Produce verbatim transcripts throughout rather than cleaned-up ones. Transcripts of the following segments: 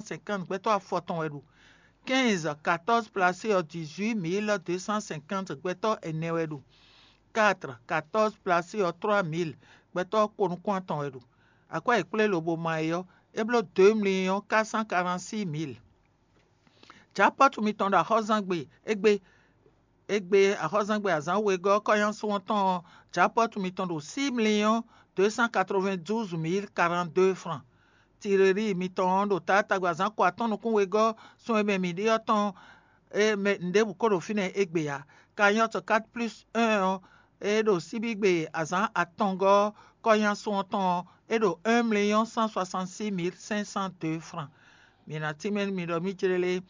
cinquante gbɛtɔ́ afɔtɔn wɛ ɖo. Quinze quatorze placé ɔ́, dix-huit mille deux cent cinquante gbɛtɔ́ ɛnɛ wɛ ɖo. Quatre quatorze placé ɔ́, trois mille gbɛtɔ́ ko nukún atɔn wɛ ɖo. Akwɛ́ e kplé lobo ma é ɔ́, é bló deux millions quatre cent quarante-six mille. Japɔ́tu mitɔn ɖo axɔ́zangbe égbé égbé axɔ́zangbe azǎn wegɔ́ kɔ́nyásun ɔ́ tɔn ɔ́, japɔ́tu mitɔn ɖo six millions deux cent quatre-vingt-douze mille quarante-deux francs. Tireri mitɔn ɔ́ ɖo taatagbe azǎn ko atɔ́ɔ́n nukún wegɔ́ sun e mɛ mǐ ɖe ɔ́ tɔn e mɛ nǔɖěbǔ ko ɖo fínɛ́ égbé ǎ. Kanyɔ́ɔtu quatre plus un ɔ́, é ɖo síbígbe azǎn atɔngɔ́ kɔ́nyásun ɔ́ tɔn ɔ́, é ɖo un million cent soixante-six mille cinq cent deux francs. Mi ná tínmɛ nú mi ɖɔ mǐ jlélé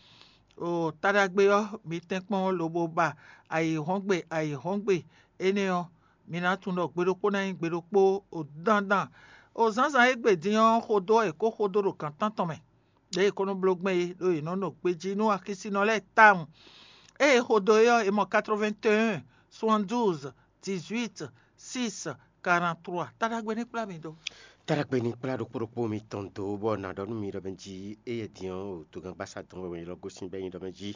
o taɖagbe ɔ́, mi tɛ́nkpɔ́n lobo ba ayǐhɔ́ngbe ayǐhɔ́ngbe énɛ́ ɔ́, mi ná tunwun ɖɔ gbe ɖokpó ná nyí gbe ɖokpó o dandan. O zǎnzǎn e gbe din ɔ́, xodó e kó xodó ɖo gǎn tántɔn mɛ. Ɖěe è ko nɔ bló gbɛn é ɖó yě nɔ nɔ gbejí nú axisínɔ lɛ́ɛ tawun. Ée è xo do é ɔ́, è mɔ quatre-vingt-un, soixante-douze, dix-huit, six, quarante-trois. Taɖagbe ní kplá mi dó. Taɖagbe ní kplá ɖokpó ɖokpó mitɔn dó, bɔ nǎ ɖɔ nú mi ɖɔ mɛ jí éyɛ́ din ɔ́, togángbasá dɔn wɛ è nɔ gosín bɔ é nyí ɖɔ mɛ jí.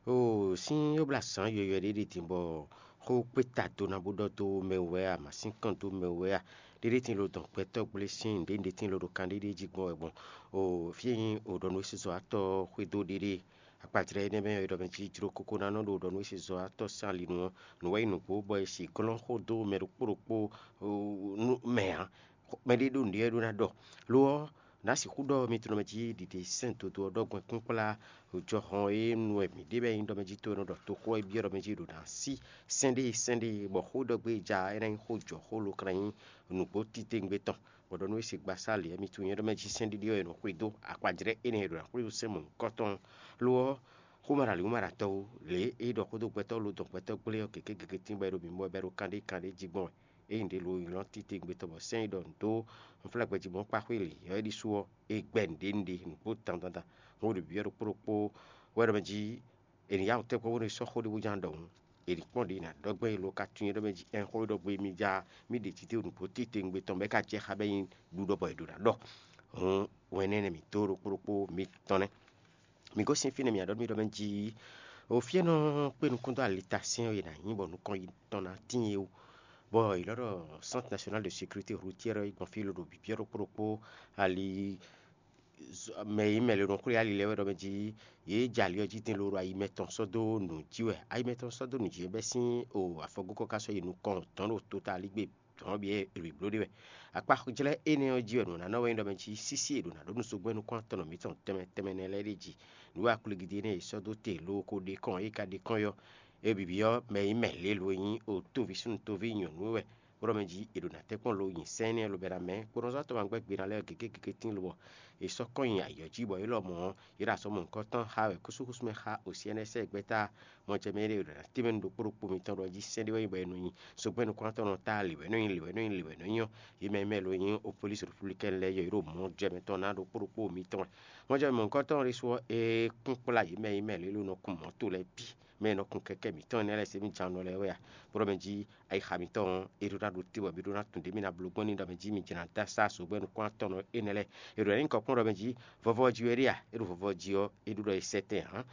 O sín yɔ̌blazǎn yɔ̌yɔ́ ɖé ɖi din bɔ xó kpé ta do ná bó ɖɔ dó mɛ wú wɛ a, mǎ sín kɔn dó mɛ wú wɛ a, ɖéɖé tín lo dɔn gbɛtɔ́ gblé sín nǔɖé nǔɖé tín lo ɖo kan ɖéɖé jí gbɔn wɛ gbɔn. O fí e nyí o ɖɔ nú é sezɔ́watɔ́ xwedó ɖéɖé akpajlɛ́ énɛ́ mɛ ɔ́, è ɖɔ mɛ jí jló kókó ná nɔ ɖo ɖɔ nú é sezɔ́watɔ́ sín ali nu ɔ́, nǔ wɛ nyí nǔgbó bɔ è sixú glɔ́n xó dó mɛ ɖokpó ɖokpó nú mɛ ǎ. Mɛɖé ɖó nǔɖé wɛ ɖó ná ɖɔ. Lo ɔ́, nǎ sixú ɖɔ mi tunɔ mɛ jí ɖiɖe sɛ́n dodó ɔ́ ɖɔ gbɔn kpínkplá jɔhɔn e nu wɛ mǐ ɖe bɔ é nyí ɖɔ mɛ jí to e nɔ ɖɔ toxó ɔ́ é byɔ́ ɖɔ mɛ jí ɖo ná sí sɛ́n ɖé sɛ́n ɖé, bɔ xó ɖɔ gbé ja é ná nyí xó jɔ xó lo kan ná nyí nǔgbó titewungbe tɔn. Bɔ ɖɔ nú é se gbasá lě mi tunwun nyɛ ɖɔ mɛ jí sɛ́n ɖiɖi ɔ́ è nɔ xwedó akpajlɛ́ énɛ́ e ɖo ná xwedó sɛ́n mɔ̌hunkɔtɔn. Lo ɔ́, xó ma ɖo ali wú ma ɖo atɔ wú, lě e é ɖɔ xó dó gbɛtɔ́ lo dɔn gbɛtɔ́ gblé ɔ́ gěgé gěgé tín bɔ é ɖo mǐmɔ wɛ bɔ é ɖo kanɖé kanɖé jí gbɔn wɛ. Ényí ɖě lo nylɔ́ titewungbe tɔn bɔ sɛ́n e ɖɔ nǔ dó unflágbɛjí mɔ̌kpáxwé lě ɔ́ é ɖésú ɔ́, é gbɛ́ nǔɖé nǔɖé nǔgbó dandan dandan. Hɔn ɖo byɔ́ ɖokpó ɖokpó wɛ ɖɔ mɛ jí è nǐ yá wǔ tɛ́nkpɔ́n bónú è sɔ́ xó ɖé bó ná ɖɔ hǔn, è nǐ kpɔ́n ɖě è nǎ ɖɔ gbɛn é lo ka tunwun é ɖɔ mɛ jí ɛn xó e ɖɔ gbé mi ja mì ɖe titewungbe tɔn bɔ é ka jɛ xá bɔ é nyí ɖuɖɔ bɔ è ɖǒ ná ɖɔ. Hǔn wɛn énɛ́ mǐ dó ɖokpó ɖokpó mitɔn nɛ́. Mǐ gosín fínɛ́ mǐ ɖɔ mì ɖɔ mɛ jí o fí e nɔ kpé nukún dó alitasɛ́n e nǎ nyí bɔ nukɔn yětɔn ná tíin é wú, bɔ è lɔ́ ɖɔ Centre National de Sécurité Routière ɔ́ yi gbɔn fí loɖo bǐbyɔ́ ɖokpó ɖokpó ali mɛ e mɛ lě nɔ xwlé ali lɛ́ɛ wɛ ɖɔ mɛ jí yě jɛ ali ɔ́ jí din loɖo ayi mɛtɔn sɔ́ dó nǔ jí wɛ. Ayi mɛtɔn sɔ́ dó nǔ jí wɛ bɛ́ sín o afɔgókɔ ka sɔ́ yi nukɔn dɔ̌n ɖo tota aligbé dɔ̌n ɔ́ bǐ e è blǒ ɖe wɛ. Akpajlɛ́ énɛ́ ɔ́ jí wɛ nǔ ná nɔ wɛ nyí ɖɔ mɛ jí sísí e ɖo nǎ ɖó nú zogbɛ́nú kɔn atɔn nɔ mǐtɔn tɛnmɛ tɛnmɛ nɛ́ lɛ́ɛ ɖe jí. Nǔ akwligidi énɛ́ e è sɔ́ dó te lo ko ɖe kɔn e ka ɖe kɔn ɔ́, é bǐ byɔ́ mɛ e nyí mɛ lě lo e nyí o tóví súnnu tóví nyɔ̌nu é wɛ, bó ɖɔ mɛ jí è ɖo ná tɛ́nkpɔ́n lo nyi sɛ́n énɛ́ lobɛ ná mɛ kpónɔzɔ́ tɔn ma gbɛ́ gbe ná lɛ́ɛ gěgé gěgé tín lobɔ è sɔ́ kɔn nyi ayǐ ɔ́ jí bɔ é lɔmɔ̌ ɔ́, yě ɖo azɔ̌ mɔ̌hunkɔtɔn xá wɛ kúsúkúsú mɛ xá o C N S bɛ́ ta mɔjɛmɛ ɖé ɖo ná tɛ́nmɛ nú ɖokpó ɖokpó mitɔn ɖɔ jí sɛ́n ɖé wɛ nyí bɔ è nɔ nyi. Sogbɛ́nú kɔn atɔn nɔ ta lǐwɛ̌ nɔ nyi lǐwɛ̌ nɔ nyi lǐwɛ̌ nɔ nyi ɔ́, yě mɛ mɛ lo nyí o polísi républicaine lɛ́ɛ yɔ yě ɖo mɔjɛmɛ tɔn ná ɖokpó ɖokpó mitɔn wɛ. Mɔjɛmɛ mɔ̌hunkɔtɔn ɖésú ɔ́, é kún kplá yě mɛ yě mɛ lě lo nɔ kun mɔ̌to lɛ́ɛ bǐ, mɛ e nɔ kun kɛkɛ́ mǐtɔn énɛ́ lɛ́ɛ se mì jan nɔ lɛ́ɛ wɛ a. Bó ɖɔ mɛ jí ayixa mǐtɔn ɔ́, é ɖó ná ɖo te bɔ mǐ ɖó ná tunwun ɖě mì ná bló gbɔn ní ɖɔ mɛ jí mi jɛ ná dó asá sogbɛ́nú kɔn atɔn nɔ énɛ́ lɛ́ɛ. È ɖo ná nyí kɔ kpɔ́n ɖɔ mɛ jí vɔvɔ jí wɛ ɖe a? É ɖo vɔvɔ jí ɔ́, é ɖó ɖɔ è sɛ tɛn ǎ.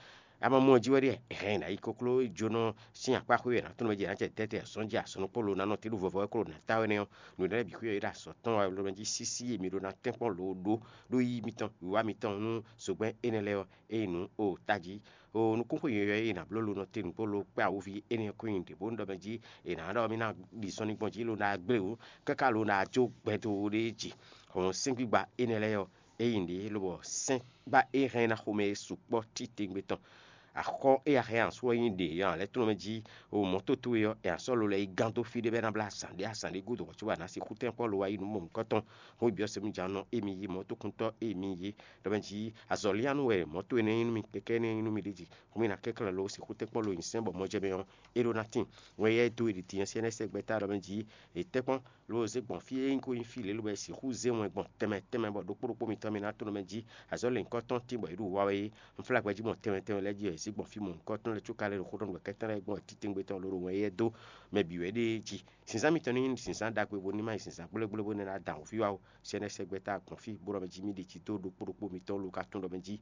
Amamú ɔ́ jí wɛ ɖíe è hɛn ɛ ná yi koklójónɔ sín akpá xwé wɛ è nǎ tɔ́n mɛ jí è nǎ jɛ tɛ́tɛn azɔn jí asɔnukpó lo ná nɔ te ɖo vɔvɔ wɛ kó ɖo nǎ ta wɛ nɛ́ ɔ́, nǔɖé lɛ́ɛ bǐ xwé ɔ́ é ɖo azɔ̌ tɔn wɛ lo mɛ jí sísí e mi ɖó ná tɛ́nkpɔ́n lo ɖó ɖó yí mitɔn wǐwá mitɔn nú zogbɛ́n énɛ́ lɛ́ɛ ɔ́, ényí nǔ o tají o nukúnxwe yɔ̌yɔ́ e è nǎ bló lo nɔ te nǔgbó lo kpé awuví énɛ́ kó nyi ɖě bónú ɖɔ mɛ jí è nǎ ɖɔ mì ná ɖi zɔnlin gbɔn jí lo ná gblé wǔ káká lo ná jó gbɛdo ɖé jí. Hɔn sɛ́ngbígba énɛ́ lɛ́ɛ ɔ́, é nyí nǔɖé lobɔ sɛ́n gbá é hɛn ná xomɛ e sukpɔ́ titewungbe tɔn. Axɔ e axɛ asú ɔ́ nyí ɖě nya lɛ́ɛ tlɔ́n mɛ jí o mɔ̌ towe ɔ́, è asɔ́ lo lɛ́ɛ yi gán dó fí ɖé bɔ é ná blá azǎn ɖé azǎn ɖé gúdo hɔn cóbɔ a nǎ sixú tɛ́nkpɔ́ lo wá yi nǔ mɔ̌hunkɔtɔn. Xó byɔ́ se nú jǎnɔ émi yí mɔ̌tokuntɔ́ émi yí ɖɔ mɛ jí azɔ̌ lían nú wɛ mɔ̌ towe nɛ́ nyí nú mì kɛkɛ́ nɛ́ nyí nú mì ɖé jí. Xó mì ná kɛnklɛ́n lo sixú tɛ́nkpɔ́ lo nyi sɛ́n bɔ mɔjɛmɛ ɔ́, é ɖó ná tíin. Wɛn yɛ dó e ɖi din ɔ́ sɛ́ nɛ́ sɛ́ gbɛ́ta ɖɔ mɛ jí è tɛ́nkpɔ́n lo zé gbɔn fí e nyí ko nyí fí lě lobɔ è sixú zé wɛn gbɔn tɛnmɛ tɛnmɛ bɔ ɖokpó ɖokpó mitɔn mì ná tlɔ́n mɛ jí azɔ̌ lěhunkɔtɔn tín bɔ è ɖo wa wɛ é. Unflágbɛjí mɔ tɛnmɛ tɛnmɛ lɛ́ɛ jí wɛ è zé gbɔn fí mɔ̌hunkɔtɔn lɛ́ɛ có ka lɛ́ ɖo xó ɖɔ nú wɛ kɛ́tɛ́n lɛ́ɛ gbɔn titewungbe tɔn lǒ ɖo wɛn éyɛ́ dó mɛ bǐ wɛ ɖée jí. Zǐnzán mitɔn ní nyí zǐnzán ɖagbe bó ní ma nyí zǐnzán gblégblé bó ní ná da wǔví wá ó. Sɛ́nɛ́ sɛ́ gbɛ́ta gbɔn fí bó ɖɔ mɛ jí mì ɖi jǐ dó ɖokpó ɖokpó mitɔn lo ka tunwun ɖɔ mɛ jí